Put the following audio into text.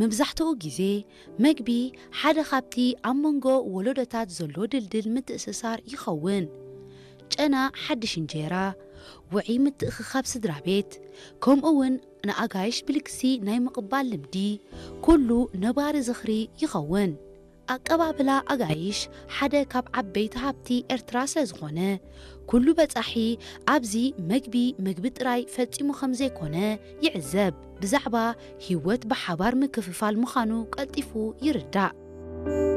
መብዛሕትኡ ግዜ መግቢ ሓደ ካብቲ ኣብ መንጎ ወለዶታት ዘሎ ድልድል ምትእስሳር ይኸውን። ጨና ሓድሽ እንጀራ፣ ውዒ ምትእኽኻብ ስድራ ቤት፣ ከምኡ እውን ንኣጋይሽ ብልግሲ ናይ ምቕባል ልምዲ፣ ኩሉ ነባሪ ዝኽሪ ይኸውን። ኣቀባብላ ኣጋይሽ ሓደ ካብ ዓበይቲ ሃብቲ ኤርትራ ስለ ዝኾነ፣ ኩሉ በጻሒ ኣብዚ መግቢ መግቢ ጥራይ ፈጺሙ ከም ዘይኮነ ይዕዘብ። ብዛዕባ ህይወት ብሓባር ምክፍፋል ምዃኑ ቀልጢፉ ይርዳእ።